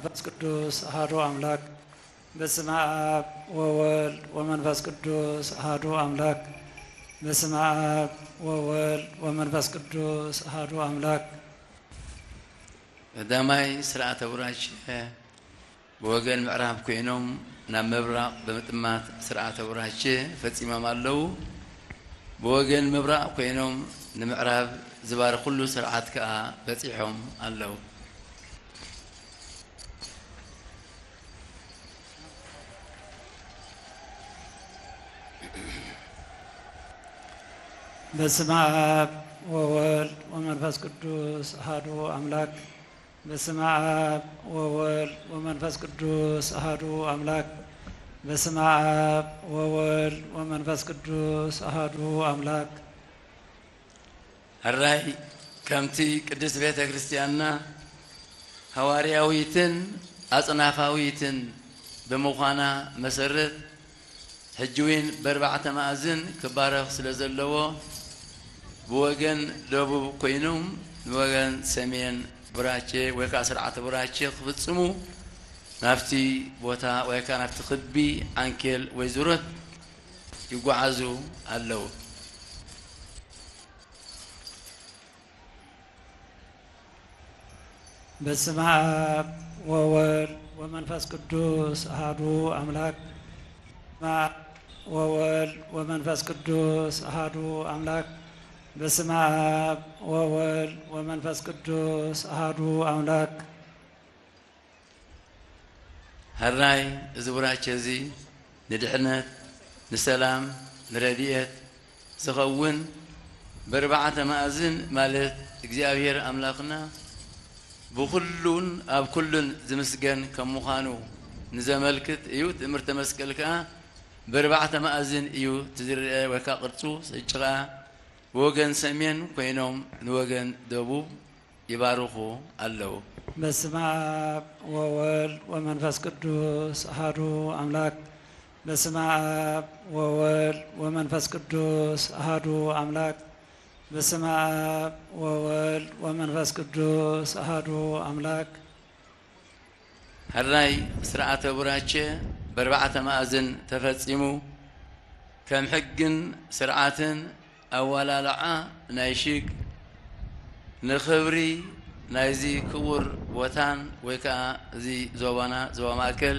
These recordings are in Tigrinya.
መንፈስ ቅዱስ አሐዱ አምላክ። በስመ አብ ወወልድ ወመንፈስ ቅዱስ አሐዱ አምላክ። በስመ አብ ወወልድ ወመንፈስ ቅዱስ አሐዱ አምላክ። ቀዳማይ ስርዓተ ቡራኬ ብወገን ምዕራብ ኮይኖም ናብ ምብራቕ ብምጥማት ስርዓተ ቡራኬ ፈጺሞም ኣለዉ። ብወገን ምብራቕ ኮይኖም ንምዕራብ ዝባርኹሉ ስርዓት ከኣ በጺሖም ኣለዉ። በስመ አብ ወወልድ ወመንፈስ ቅዱስ አሐዱ አምላክ። በስመ አብ ወወልድ ወመንፈስ ቅዱስ አሐዱ አምላክ። በስመ አብ ወወልድ ወመንፈስ ቅዱስ አሐዱ አምላክ። ሕራይ ከምቲ ቅድስት ቤተ ክርስቲያንና ሃዋርያዊትን ኣጽናፋዊትን ብምዃና መሰረት፣ ሕጂ እውን በርባዕተ መኣዝን ክባረኽ ስለ ዘለዎ፣ ብወገን ደቡብ ኮይኖም ንወገን ሰሜን ቡራኬ ወይ ከዓ ስርዓተ ቡራኬ ክፍጽሙ ናብቲ ቦታ ወይ ከዓ ናብቲ ክቢ ዓንኬል ወይ ዙረት ይጓዓዙ ኣለዉ። በስመ አብ ወወልድ ወመንፈስ ቅዱስ አሐዱ አምላክ። በስመ አብ ወወልድ ወመንፈስ ቅዱስ አሐዱ አምላክ። በስመ አብ ወወልድ ወመንፈስ ቅዱስ አሐዱ አምላክ። ሕራይ እዚ ቡራኬ እዚ ንድሕነት፣ ንሰላም፣ ንረድኤት ዝኸውን ብኣርባዕተ መኣዝን ማለት እግዚኣብሔር ኣምላኽና ብኹሉን ኣብ ኩሉን ዝምስገን ከም ምዃኑ ንዘመልክት እዩ። ትእምርተ መስቀል ከኣ ብኣርባዕተ መኣዝን እዩ እቲ ዝረአ ወይ ከኣ ቅርጹ። ሕጂ ኸኣ ብወገን ሰሜን ኮይኖም ንወገን ደቡብ ይባርኹ ኣለዉ። በስመ አብ ወወልድ ወመንፈስ ቅዱስ አሐዱ አምላክ። በስመ አብ ወወልድ ወመንፈስ ቅዱስ አሐዱ አምላክ። በስመ አብ ወወልድ ወመንፈስ ቅዱስ አሐዱ አምላክ። ሕራይ ስርዓተ ቡራኬ በርባዕተ መኣዝን ተፈጺሙ። ከም ሕግን ስርዓትን ኣዋላልዓ ናይ ሽግ ንኽብሪ ናይዚ ክቡር ቦታን ወይ ከኣ እዚ ዞባና ዞባ ማእከል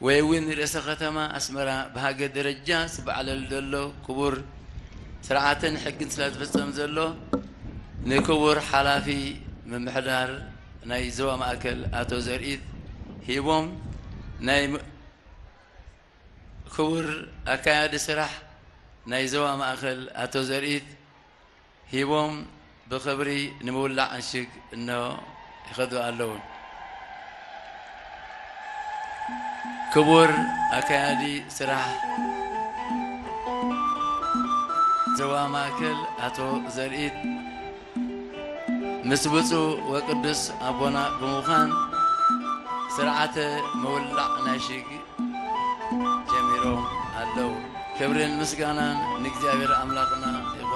ወይ እውን ርእሰ ከተማ ኣስመራ ብሃገር ደረጃ ዝበዓለሉ ዘሎ ክቡር ስርዓትን ሕግን ስለ ዝፍጸም ዘሎ ንክቡር ሓላፊ ምምሕዳር ናይ ዞባ ማእከል ኣቶ ዘርኢት ሂቦም ናይ ም-፣ ክቡር ኣካያዲ ስራሕ ናይ ዞባ ማእከል ኣቶ ዘርኢት ሂቦም ብኽብሪ ንምውላዕ ዕሽግ እንሆ ይኸዱ ኣለዉ። ክቡር ኣካያዲ ስራሕ ዞባ ማእከል ኣቶ ዘርኢት ምስ ብፁዕ ወቅዱስ ኣቦና ብምዃን ስርዓተ ምውላዕ ናይ ሽግ ጀሚሮም ኣለዉ። ክብርን ምስጋናን ንእግዚኣብሔር ኣምላኽና